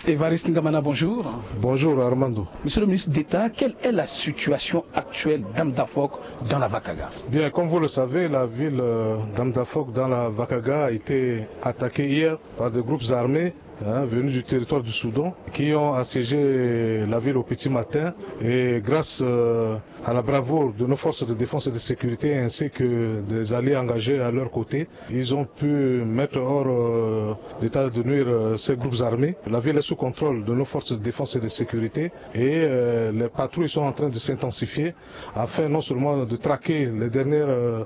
Évariste Ngamana, bonjour. Bonjour Armando. Monsieur le ministre d'État, quelle est la situation actuelle d'Amdafok dans la Vakaga ? Bien, comme vous le savez, la ville euh, d'Amdafok dans la Vakaga a été attaquée hier par des groupes armés hein, venus du territoire du Soudan qui ont assiégé la ville au petit matin et grâce euh, à la bravoure de nos forces de défense et de sécurité ainsi que des alliés engagés à leur côté, ils ont pu mettre hors euh, d'état de nuire euh, ces groupes armés. La ville est sous contrôle de nos forces de défense et de sécurité et euh, les patrouilles sont en train de s'intensifier afin non seulement de traquer les dernières, euh,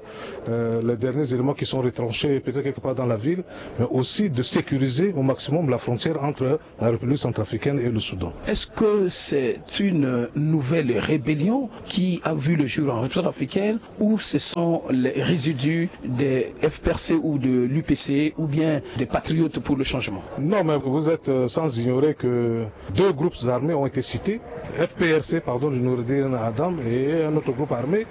euh, les derniers éléments qui sont retranchés peut-être quelque part dans la ville, mais aussi de sécuriser au maximum la frontière entre la République centrafricaine et le Soudan. Est-ce que c'est une nouvelle rébellion qui a vu le jour en République centrafricaine ou ce sont les résidus des F P R C ou de l'U P C ou bien des patriotes pour le changement ? Non, mais vous êtes euh, sans ignorer que deux groupes armés ont été cités, F P R C, pardon, de Noureddin Adam et un autre groupe armé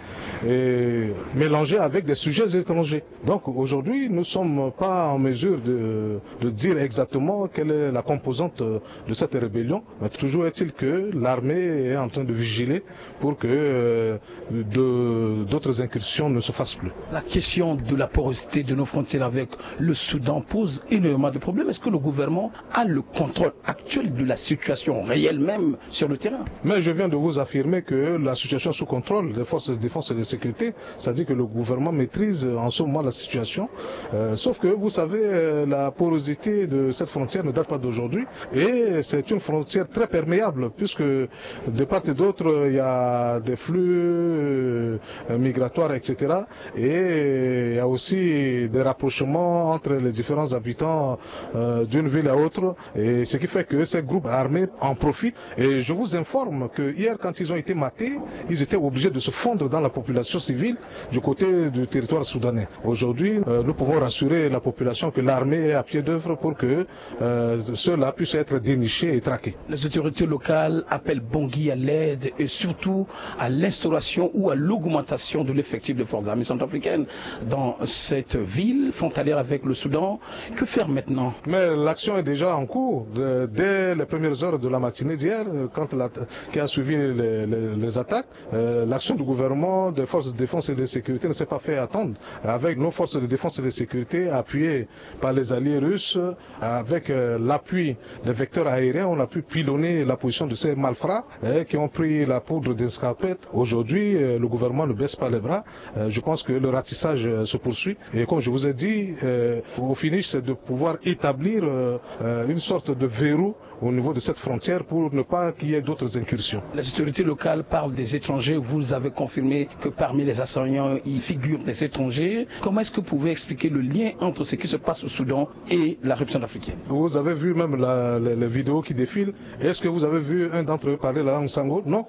et mélangé avec des sujets étrangers. Donc aujourd'hui, nous ne sommes pas en mesure de, de dire exactement quelle est la composante de cette rébellion, mais toujours est-il que l'armée est en train de vigiler pour que euh, de- d'autres incursions ne se fassent plus. La question de la porosité de nos frontières avec le Soudan pose énormément de problèmes. Est-ce que le gouvernement a le contrôle actuel de la situation réelle même sur le terrain ? Mais je viens de vous affirmer que la situation est sous contrôle des forces de défense et de sécurité, c'est-à-dire que le gouvernement maîtrise en ce moment la situation. Euh, sauf que vous savez, euh, la porosité de cette frontière ne date pas d'aujourd'hui et c'est une frontière très perméable puisque de part et d'autre, il y a des flux euh, migratoires, et cetera. Et il y a aussi des rapprochements entre les différents habitants euh, d'une ville à autre. Et ce qui fait que ces groupes armés en profitent. Et je vous informe que hier, quand ils ont été matés, ils étaient obligés de se fondre dans la population civile du côté du territoire soudanais. Aujourd'hui, euh, nous pouvons rassurer la population que l'armée est à pied d'œuvre pour que euh, ceux-là puissent être dénichés et traqués. Les autorités locales appellent Bangui à l'aide et surtout à l'instauration ou à l'augmentation de l'effectif de forces armées centrafricaines dans cette ville frontalière avec le Soudan. Que faire maintenant ? Mais l'action est déjà en cours. De- dès les premières heures de la matinée d'hier, euh, quand la- qui a suivi les, les- les attaques, euh, l'action du gouvernement, des forces de défense et de sécurité ne s'est pas fait attendre. Avec nos forces de défense et de sécurité appuyées par les alliés russes, avec euh, l'appui des vecteurs aériens, on a pu pilonner la position de ces malfrats hein, qui ont pris la poudre d'escarpette. Aujourd'hui, euh, le gouvernement ne baisse pas les bras. Euh, je pense que le ratissage euh, se poursuit. Et comme je vous ai dit, euh, au finish, c'est de pouvoir établir euh, euh, une sorte de verrou au niveau de cette frontière pour ne pas qu'il y ait d'autres incursions. Les autorités locales parlent des étrangers. Vous avez confirmé que parmi les assaillants, il figure des étrangers. Comment est-ce que vous pouvez expliquer le lien entre ce qui se passe au Soudan et la République centrafricaine ? Vous avez vu même la- les, les vidéos qui défilent. Est-ce que vous avez vu un d'entre eux parler la langue sango ? Non.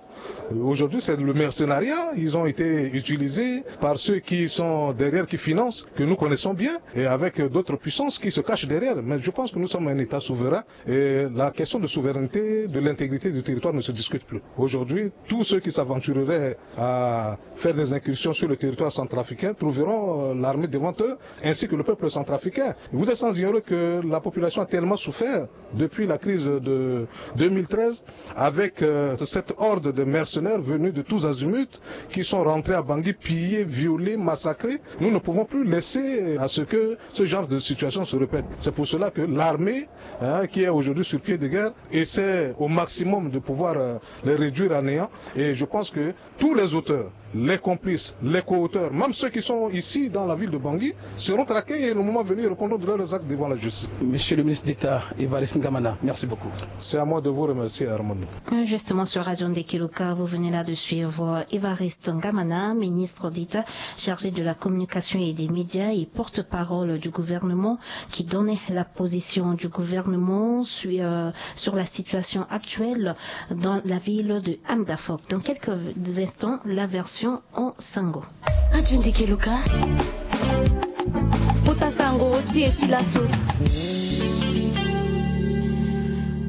Aujourd'hui, c'est le mercenariat. Ils ont été utilisés par ceux qui sont derrière, qui financent, que nous connaissons bien, et avec d'autres puissances qui se cachent derrière. Mais je pense que nous sommes un État souverain et la question de souveraineté, de l'intégrité du territoire ne se discute plus. Aujourd'hui, tous ceux qui s'aventureraient à faire des incursions sur le territoire centrafricain trouveront euh, l'armée devant eux, ainsi que le peuple centrafricain. Vous êtes sans ignorer que la population a tellement souffert depuis la crise de deux mille treize avec euh, cette horde de mercenaires venus de tous azimuts qui sont rentrés à Bangui, pillés, violés, massacrés. Nous ne pouvons plus laisser à ce que ce genre de situation se répète. C'est pour cela que l'armée, hein, qui est aujourd'hui sur pied de guerre, essaie au maximum de pouvoir euh, les réduire à néant. Et je pense que tous les auteurs, les complices, les co-auteurs, même ceux qui sont ici dans la ville de Bangui, seront traqués et le moment venu, ils répondront de leurs actes devant la justice. Monsieur le ministre d'État, Évariste Ngamana, merci beaucoup. C'est à moi de vous remercier, Armando. Justement, sur Radio Ndekeloka, vous venez là de suivre Évariste Ngamana, ministre d'État chargé de la communication et des médias et porte-parole du gouvernement, qui donnait la position du gouvernement sur, euh, sur la situation actuelle dans la ville de Amdafok. Dans quelques instants, la version en sango. Radio Ndekeloka. Kota sango, ti e ti laso.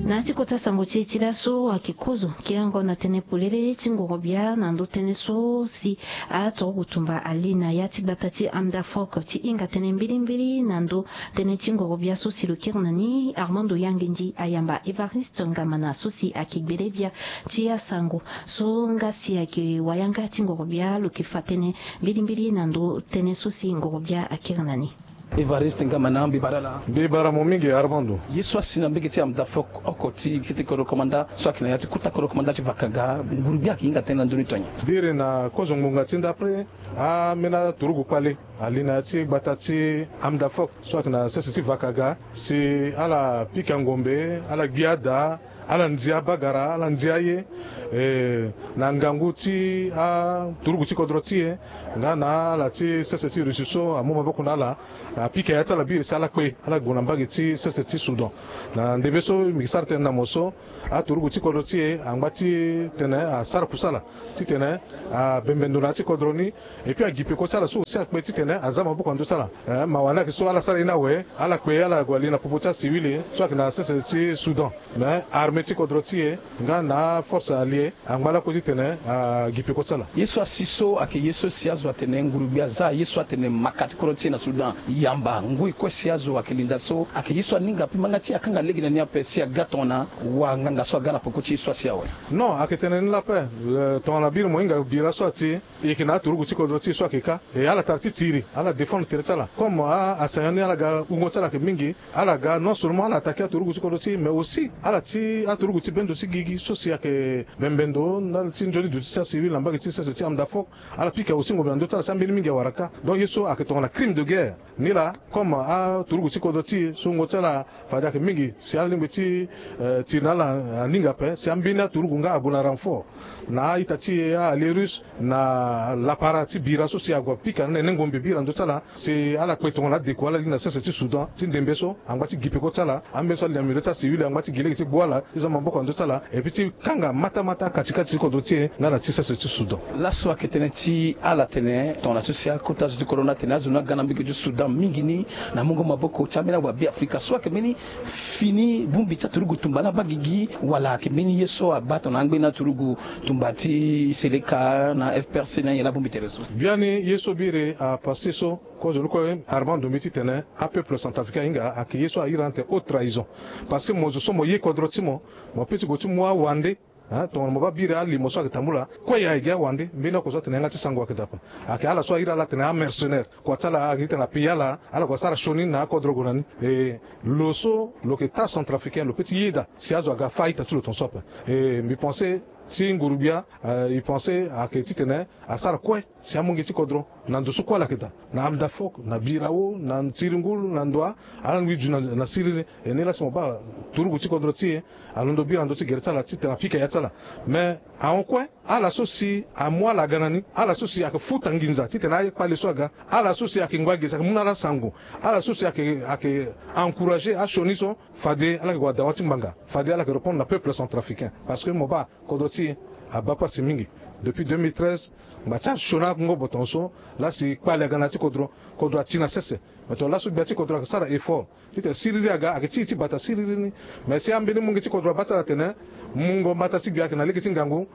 Na ya ti kota sango ti e ti laso ayeke kozo kerengo na tënë polele ti ngoro-gbia na ndö tënë so si aturugu tumba ali na ya ti gbata ti Amdafok ti hinga tënë mbilimbili na ndö tënë ti ngoro-gbia so si lo kiri na ni. Armando Yangendi ayamba Évariste Ngamana so si ayeke gbele-gbia ti asango so nga si ayeke wayanga ti ngoro-gbia lo yeke fa tënë mbilimbili na ndö tënë so si ngoro-gbia akiri na ni. Évariste Ngamana, mbi bara laa. Mbi bara mo mingi Armando. Ye so asi na mbege ti Amdafok oko ti kete kodro komanda so ayeke na ya ti kota kodro komanda ti Vakaga, nguru-gbia ayeke hinga tënë na ndö ni tonye? Biri na kozo ngbonga ti ndapre, ambeni aturugu kpale ali na ya ti gbata ti Amdafok so ayeke na sese ti Vakaga si ala pika ngombe, ala gbia daa, ala ndia bagara, ala ndia ye, eh, na ngangu ti aturugu ti kodro ti e nga na ala ti sese ti Russie so amu maboko na ala, apika ya ti ala biri si ala kpe, ala gue na mbage ti sese ti Soudan. Na ndembe so mbi sara tënë na mo so, aturugu ti kodro ti e angba ti tene asara kusala titene abembe ndo na ya ti kodro ni. Et puis agipe kue ti ala so aussi akpe titene aza maboko na ndö ti ala. Eh, mawa ni ayeke so ala sara ye ni awe, ala kpe, ala gue ali na popo ti asiwili so ayeke na sese ti Soudan. Mais armée ti kodro ti e nga na aforce alliée angba lakue titene agipe kue ti ala. Ye so asi so ayeke ye so si azo atene nguru-gbia aza ye so atene maka ti kodro ti e na Soudan yamba ngoi kue si azo ayeke linda so ayeke ye so aninga ape ma nga ti akanga lege na ni ape si aga tongana wanganga so aga na peko ti ye so asi awe. Non, ayeke tene ni la paix. Eh, tongana biri mo hinga bira so ati, e yeke na aturugu ti kodro ti e so ayeke ka. E ala tara ti tiri, ala défendre tere ti ala. Comme a, asayan ni ala ga wungo ti ala ayeke mingi, ala ga non seulement ala attaquer aturugu ti kodro ti e, mais aussi ala ti aturugu ti bendo ti gigi so si ayeke bembe ndo ndali ti nzoni duti ti asiwili na mbage ti sese ti Amdafok. Ala pika aussi ngombe na ndö ti ala si ambeni mingi awara ka. Donc ye so ayeke tongana crime de guerre. Ni laa, comme aturugu ti kodro ti e so wungo ti ala fade ayeke mingi si alingbi ti, eh, tiri na ala aninga ape, si ambeni aturugu nga ague na renfort na a-ita ti e, a-allié russe, na lapara ti bira so si ague apika na nene ngombe bira na ndö ti ala, si ala kpe tongana adeko ala li na sese ti Soudan ti ndembe so, angba ti gi peko ti ala, ambeni so ali na milieu ti asiwili angba ti gi lege ti gbu ala, ti za maboko na ndö ti ala, et puis ti kanga matamata kati kati ti kodro ti e nga na ti sese ti Soudan. Laso ayeke tënë ti ala tene tongana so si akota zo ti kodro ni atene azo ni aga na mbage ti Soudan mingi ni na mungo maboko ti ambeni awabe Afrika so ayeke mbeni fini bongbi ti aturugu tumba na abagigi, wala ayeke mbeni ye so abaa tongana angbeni aturugu tumba ti Seleka na F P R C na aye na abongbi tere so? Biani ye so biri apassé so, kozo ni kue Armand Ndombe titene apeuple centrafricain ahinga ayeke ye so ahiri ande haute trahison. Parce que mo zo so mo ye kodro ti mo, mo peut ti gue ti mu awande. Hein, tongana mo baa biri alimo so ayeke tambula kue, aye gi awande, mbeni oko so atene yanga ti sango ayeke daa ape. Ayeke ala so ahiri ala atene amercenaire. Kua ti ala ayeke titene apayer ala, ala gue asara sioni na akodro gue na ni. E, lo so lo yeke taa centrafricain, lo peut ti yeda si azo aga afa a-ita ti lo tongaso ape. E, mbi pensé ti nguru-gbia, eh, e pensé ayeke titene asara kue si amonge ti kodro na ndo so kue ala yeke daa, na Amdafok, na Birao, na Tiringulu, na Ndoa, ala ngbi zu na, na siriri. E ni laa si mo baa turugu ti kodro ti e alondo biri na ndö ti gere ti ala titene apika ya ti ala. Mais ahon kue, ala so si amu ala aga na ni, ala so si ayeke futa nginza titene akpale so aga, ala so si ayeke ngba gi si ayeke mu na ala sango, ala so si ayeke, ayeke encourager asioni so, fade ala yeke gue na dawa ti ngbanga, fade ala yeke répondre na peuple centrafricain. Parce que mo baa kodro ti e abaa pasi mingi. Depuis deux mille treize, ngba ti asioni akongo boton so, laa si kpale aga na ya ti kodro, kodro ati na sese. Mais tongana laso gbia ti kodro ayeke sara effort titene siriri aga, ayeke ti e ti bata siriri ni. Mais si ambeni mungo ti kodro abaa ti ala atene mungo mbata ti gbia ayeke na lege ti ngangu,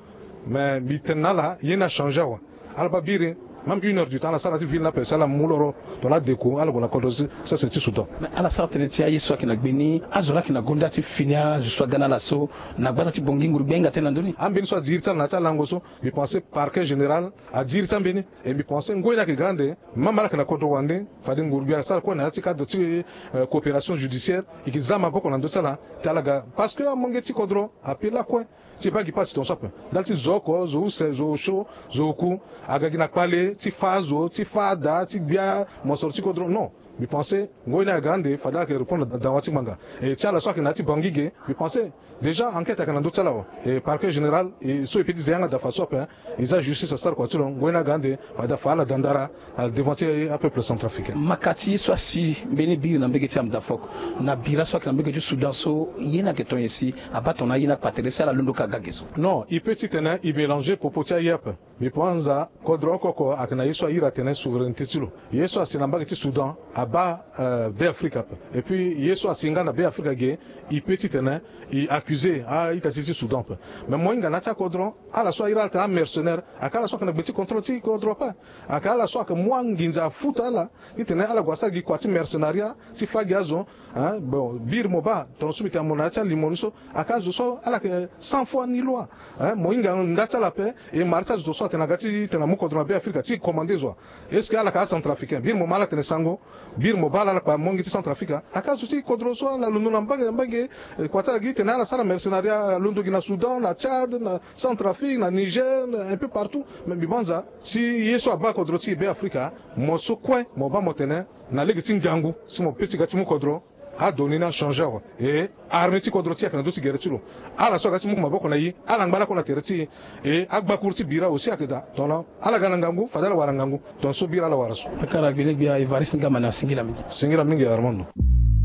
mais mbi tene na ala ye ni achangé awe. Ala baa biri, même une heure du temps ala sara na ya ti ville ni ape si ala mu loro tongana adeko ala gue na kodro ti sese ti Soudan. Mais ala sara tënë ti aye so ayeke na gbe ni, azo laa ayeke na gonda ti fini azo so aga na ala so, na gbata ti Bangui, nguru-gbia ahinga tënë na ndö ni. Ambeni so adi iri ti ala na ya ti alango so, mbi pensé parquet général adi iri ti ambeni. E mbi pensé ngoi ni ayeke ga ande, même ala yeke na kodro wande, fade nguru-gbia asara kue na ya ti cadre ti, euh, coopération judiciaire, e yeke za maboko na ndö ti ala ti ala ga. Parce que amonge ti kodro ape lakue ti baa gi pasi tongaso ape. Ndali ti zo oko, zo use, zo osio, zo oku, aga gi na kpale ti fâ azo, ti fâ ada, ti gbia mosoro ti kodro. Non. Mbi pensé ngoi ni aga ande fade ala yeke répondre na dawa ti ngbanga. E ti ala so ayeke na ya ti Bangui ge, mbi pensé déjà enquête ayeke na ndö ti ala awe. E parquet général, e so e peut ti ze yanga daa fadeso ape, hein. E za justice asara kua ti lo. Ngoi ni aga ande fade afa ala daa ndara na devant ti apeuple centrafricain. Maka ti ye so asi mbeni biri na mbege ti Amdafok na bira so ayeke na mbege ti Soudan so, ye ni ayeke ton nyen si abaa tongana aye ni akpa tere si ala londo ka ga ge so? Non, e peut titene e mélanger popo ti aye ape. Mbi pense kodro oko oko ayeke na ye so ahiri atene souveraineté ti lo. Ye so asi na mbage ti Soudan, baa Be Afrika ape. Et puis ye so asi nga na Be Afrika ge, e pe titene e accuse a-ita ti ti Soudan ape. Mais mo hinga na ya ti akodro, ala so ahiri ala tene amercenaire, ayeke ala so ayeke na gbe ti contrôle ti kodro ape. Ayeke ala so ayeke mu anginza afuta ala titene ala gue asara gi kua ti mercenaria ti fâ gi azo. Hein, bon, biri mo baa, tongana so mbi tene mo na ya ti alimo ni so, ayeke azo so ala yeke sans foi ni loi. Hein, mo hinga nda ti ala ape. E mara ti azo so atene aga titene amu kodro na Be Afrika ti commande zo wa. Est-ce que ala yeke acentrafricain? Biri mo ma ala tene sango. Biri mo baa ala ala kpa mongi ti Centrafrique. Ayeke azo ti kodro so ala londo na mbage na mbage. Kua ti ala gi titene ala sara mercenaria, alondo gi na Soudan, na Tchad, na Centrafrique, na Niger, un peu partout. Mais mbi banza si ye so abaa kodro ti e Be Afrika, mo so kue mo baa mo tene na lege ti ngangu si mo pe ti ga ti mu kodro. Ado ni ni achangé awe. E armée ti kodro ti e ayeke na ndö ti gere ti lo. Ala so aga ti mu maboko na e, ala ngba lakue na tere ti e. E agbakuru ti bira aussi ayeke daa. Tongana ala ga na ngangu, fade ala wara ngangu. Tongana so bira ala wara so. Akara gbenegbia Evariste Ngamana, singila mingi. Singila mingi Armando.